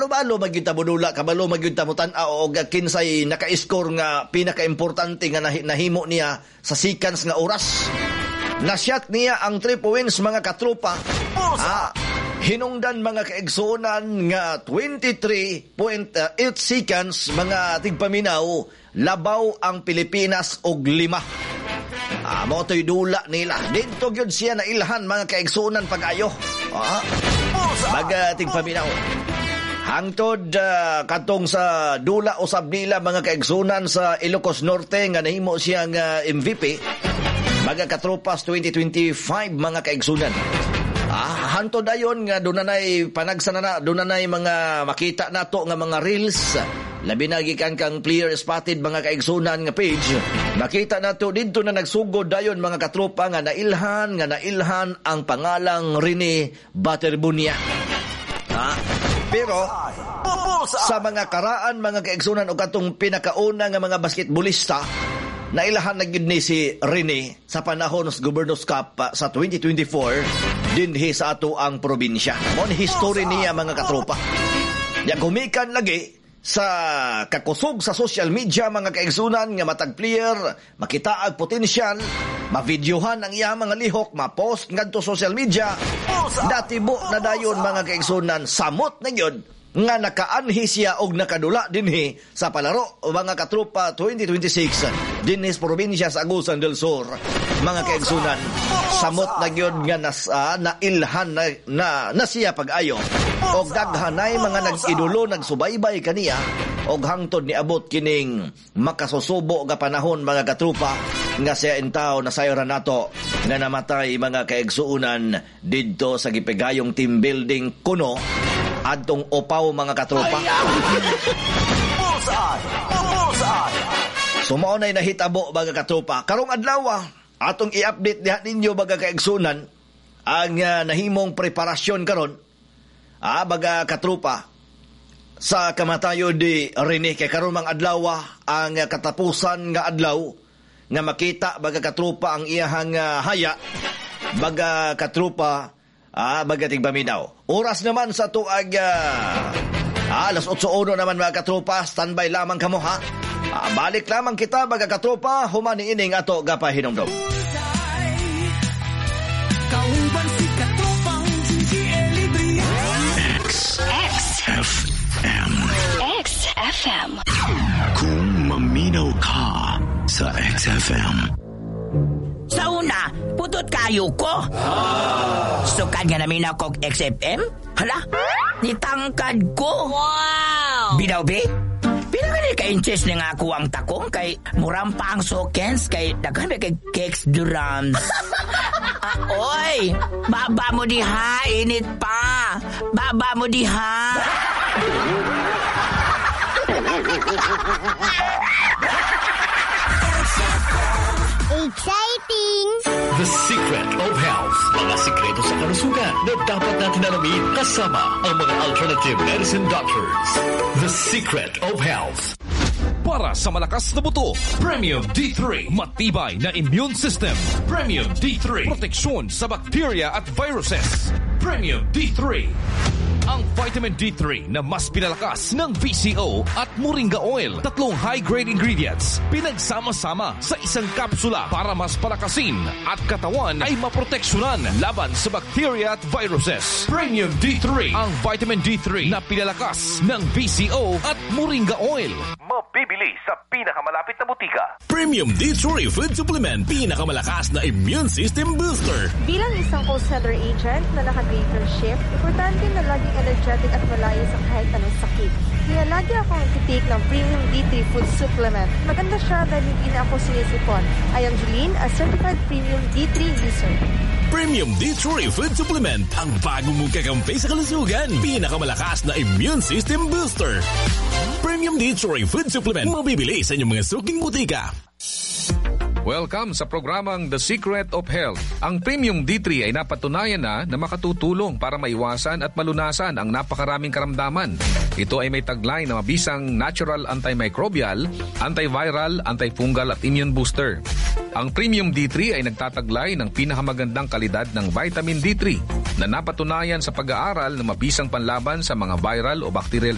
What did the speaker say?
Kabalo-balo magyud ta modula, kabalo magyud ta motan-aw og kinsay naka-score nga pinaka-importante nga nahimo niya sa seconds nga oras. Nasyat niya ang 3 points, mga katropa. Hinungdan, mga kaigsuonan, nga 23.8 seconds, mga tigpaminaw, labaw ang Pilipinas og 5. Mao to'y dula nila. Didto gyud siya na ilhan, mga kaigsuonan, pag-ayo. Mga tigpaminaw. Hangtod katong sa dula usab nila, mga kaigsuonan, sa Ilocos Norte nga nahimo siya nga MVP. Mga katropas, 2025, mga kaigsuonan. Hantod ayon nga doon na panagsa na, doon na mga makita nato nga mga reels. Labi na gikan kang Player Spotted, mga kaigsunan, nga page. Makita nato didto na nagsugod dayon, mga katropa, nga nailhan ang pangalang Rene Baterbonia. Pero sa mga karaan, mga kaigsunan, o katong pinakauna nga mga basketballista, nailahan na gyud ni si Rene sa panahon sa Governor's Cup sa 2024 dinhi sa ato ang probinsya. Mao ni history niya, mga katropa. Ya gumikan lagi sa kakusog sa social media, mga kaigsunan, nga matag player makita ang potensyal, mavideohan ang iyang mga lihok, ma-post ngadto social media, natibo na dayon, mga kaigsunan, samot na gyud nga nakaanhi siya og nakadula dinhi sa palaro, mga katropa, 2026 dinhi sa probinsya sa Agusan del Sur, mga kaigsunan. Samot na gyud nga nailhan na siya pag-ayo og daghanay mga nag-idolo, nagsubaybay kaniya og hangtod niabot kining makasusubo nga panahon, mga katropa, nga siya intaw na sayran nato nga namatay, mga kaigsuonan, didto sa gipigayong team building kuno adtong Opaw, mga katropa. Bullseye! Bullseye! So mao na'y nahitabo, mga katropa. Karong adlaw, atong i-update diha ninyo, mga kaigsunan, ang nahimong preparasyon karon, mga katropa, sa kamatayon ni Rene, kay karon mang adlaw ang katapusan nga adlaw nga makita, mga katropa, ang iyahang haya, mga katropa, mga tigpaminaw. Oras naman sa tuag alas 8:01 naman, mga katropa, standby lamang kamo ha. Balik lamang kita, mga katropa, human ining ato gapahinumdom. Kauban si katropang Gigi Elibria. X X F M. XFM. Kung maminaw ka sa XFM. Sa una, putot kayo ko. Sukad nga naminaw kog XFM? Hala, nitangkad ko. Wow! Bitaw be? Pila ka ka inches na nga ako ang takong kay murampa ang sokens kay daghan kay cakes drums. Oy, baba mo diha, init pa. Baba mo diha. Exciting! The Secret of Health. Mga sikreto sa kalusugan na dapat natin alamin kasama ang mga alternative medicine doctors. The Secret of Health. Para sa malakas na buto, Premium D3. Matibay na immune system. Premium D3. Proteksyon sa bacteria at viruses. Premium D3. Ang vitamin D3 na mas pinalakas ng VCO at Moringa oil. Tatlong high-grade ingredients pinagsama-sama sa isang kapsula para mas palakasin at katawan ay maproteksyonan laban sa bacteria at viruses. Premium D3. Ang vitamin D3 na pinalakas ng VCO at Moringa oil. Mabibili sa pinakamalapit na butika. Premium D3 Food Supplement. Pinakamalakas na immune system booster. Bilang isang call center agent na naka-graveyard shift, importante na laging energetic at malayo sa kahit anong sakit. Kaya lagi akong nagtitake ng Premium D3 Food Supplement. Maganda siya dahil hindi na ako sinisipon. I am Jeline, a certified Premium D3 user. Premium D3 Food Supplement. Ang bago mong kakampi sa kalusugan. Pinakamalakas na immune system booster. Premium D3 Food Supplement. Mabibili sa inyong mga suking butika. Welcome sa programang The Secret of Health. Ang Premium D3 ay napatunayan na na makatutulong para maiwasan at malunasan ang napakaraming karamdaman. Ito ay may taglay na mabisang natural antimicrobial, antiviral, antifungal at immune booster. Ang Premium D3 ay nagtataglay ng pinakamagandang kalidad ng vitamin D3 na napatunayan sa pag-aaral na mabisang panlaban sa mga viral o bacterial